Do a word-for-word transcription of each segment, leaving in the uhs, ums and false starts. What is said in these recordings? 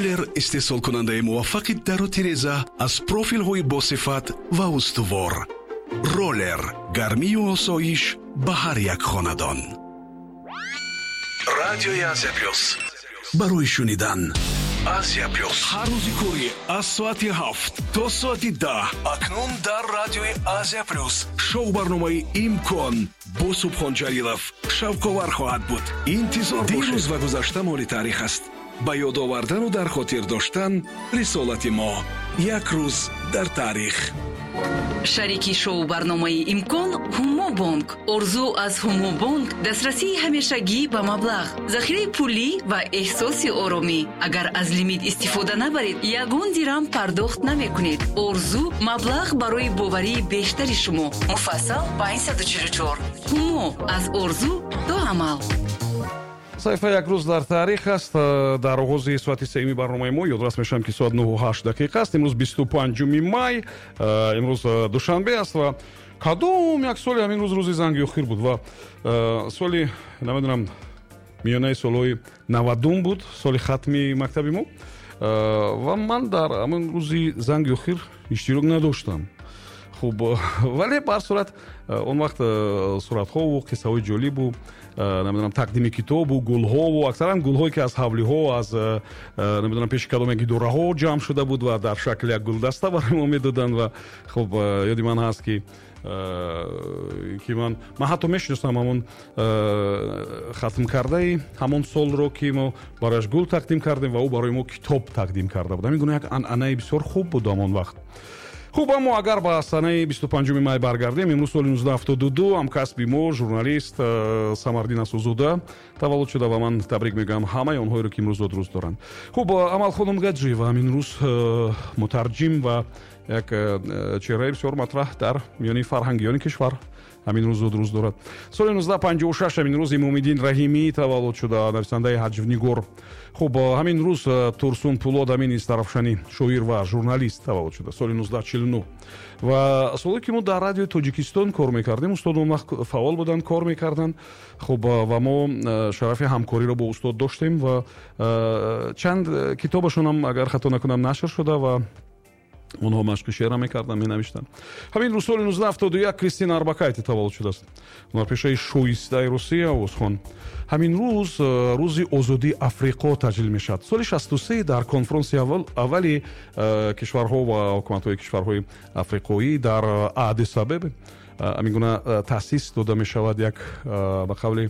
Роллер истеҳсолкунандаи муваффақи дару тиреза аз профилҳои босифат ва устувор. Роллер гармию осоиш ба ҳар як хонадон. Радиои Азия Плюс барои шунидан. Азия Плюс ҳар рӯзи корӣ аз соати ҳафт то соати даҳ. Акнун дар радиои Азия Плюс шоу барномаи Имкон бо Субҳон Ҷалилов шавқовар хоҳад буд. Интизор бошед. Дирӯз ва гузашта моли таърих аст. Ба ёд овардану дар хотир доштан рисолати мо. Як рӯз дар таърих. Шарики шоу барномаи Имкон Ҳумобонк. Орзу аз Ҳумобонк дастрасии ҳамешагӣ ба маблағ, захираи пулӣ ва эҳсоси оромӣ. Агар аз лимит истифода набаред, ягон дирам пардохт намекунед. Орзу маблағ барои боварии бештари шумо. Муфассал панҷсаду чилу чор. Ҳумо аз орзу то амал. Саҳифаи Як рӯз дар таърих аст дар оғози соати сеюми барномаи мо. Ёдрас мешавам, ки соат нӯҳу ҳашт дақиқа аст. Имрӯз бисту панҷуми май, имрӯз душанбе аст ва кадом як соли ҳамин рӯз рӯзи занги охир буд ва соли, намедонам, миёнаи солҳои навадум буд, соли хатми мактаби мо, ва ман дар ҳамин рӯзи занги охир иштирок надоштам. Хуб, вале ба ҳар сурат он вақт суратҳову қиссаҳои ҷолибу, намедонам, тақдими китобу гулҳову, аксаран гулҳое, ки аз ҳавлиҳо, аз, намедонам, пеши кадом як идораҳо ҷамъ шуда буд ва дар шакли як гулдаста барои мо медоданд. Ва хуб, ёди ман ҳаст, ки ки ман ман ҳатто мешиносам ҳамон хатмкардаи ҳамон солро, ки мо барояш гул тақдим кардем ва ӯ барои мо китоб тақдим карда буд. Ҳамин гуна як анъанаи бисёр хуб буд ҳамон вақт. Хуб, аммо агар ба санаи бисту панҷуми май баргардем, имрӯз соли нуздаҳу ҳафтоду ду ҳамкасби мо, журналист э, Самардин Асузода таваллуд шуда ва ман табрик мегӯям ҳамаи онҳоеро, ки имрӯз зодрӯз доранд. Хуб, Амалхонум Гаджиева ҳамин рӯз э, мутарҷим ва як э, чеҳраи бисёр матраҳ дар миёни фарҳангиёни кишвар ҳамин рӯз зодрӯз дорад. Соли нуздаҳу панҷоҳу шаш ҳамин рӯз Имомиддин Раҳимӣ таваллуд шуда, нависандаи ҳаҷвнигор. Хуб, ҳамин рӯз Турсун Пулод Амин Истарафшанӣ, шоир ва журналист, таваллуд шуда соли нуздаҳу чилу нӯҳ. Ва соле ки мо дар Радиои Тоҷикистон кор мекардем, устод он вақт фаъол буданд, кор мекарданд. Хуб, ва мо шарафи ҳамкориро бо устод доштем ва чанд китобашонам, агар хато накунам, нашр шуда ва онҳо машқи шеъра мекарданд, менавиштанд. Ҳамин рӯз соли нуздаҳу ҳафтоду як Кристина Арбакайте таваллуд шудааст, ҳунарпешаи шоистаи Русия, овозхон. Ҳамин рӯз э, рӯзи озодии Африқо таҷлил мешавад. Соли шасту се дар конфронси аввали э, кишварҳо ва ҳукуматҳои кишварҳои африқоӣ дар Аддис Абеба ҳамин гуна э, таъсис дода мешавад як, ба қавли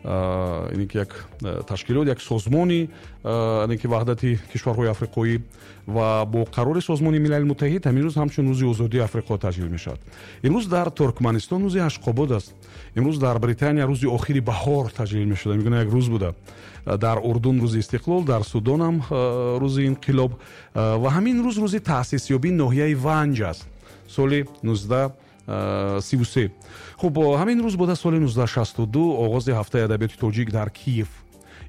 ине ки, як ташкилот, як созмони ки ваҳдати кишварҳои африқоӣ, ва бо қарори Созмони Милали Муттаҳид ҳамин рӯз ҳамчун рӯзи озодии Африқо таҷлил мешавад. Имрӯз дар Туркманистон рӯзи Ашқобод аст. Имрӯз дар Британия рӯзи охири баҳор таҷлил мешуда, мегӯна як рӯз буда. Дар Урдун рӯзи истиқлол, дар Судонам рӯзи инқилоб. Ва ҳамин рӯз рӯзи таъсисёбии ноҳияи Ванҷ аст, соли нуздаҳу сиву се. Хуб, ҳамин рӯз буда соли нуздаҳу шасту ду оғози ҳафтаи адабиёти тоҷик дар Киев.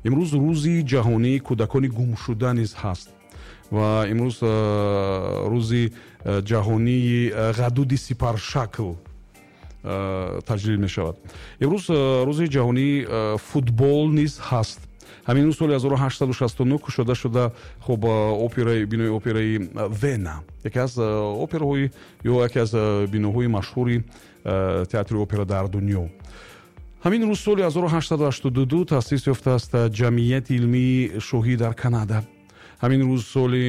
Имрӯз рӯзи ҷаҳонии кӯдакони гумшуда низ ҳаст ва имрӯз рӯзи ҷаҳонии ғадуди сипаршакл таҷлил мешавад. Имрӯз рӯзи ҷаҳонии футбол низ ҳаст. Ҳамин рӯз соли ҳазору ҳаштсаду шасту нӯҳ кушода шуда, хуб, операи бинои операи Вена, яке аз операҳои ё яке аз биноҳои машҳури театри опера дар дунё. Ҳамин рӯз соли ҳазору ҳаштсаду ҳаштоду ду таъсис ёфтааст Ҷамъияти илмии шоҳӣ дар Канада. Ҳамин рӯз соли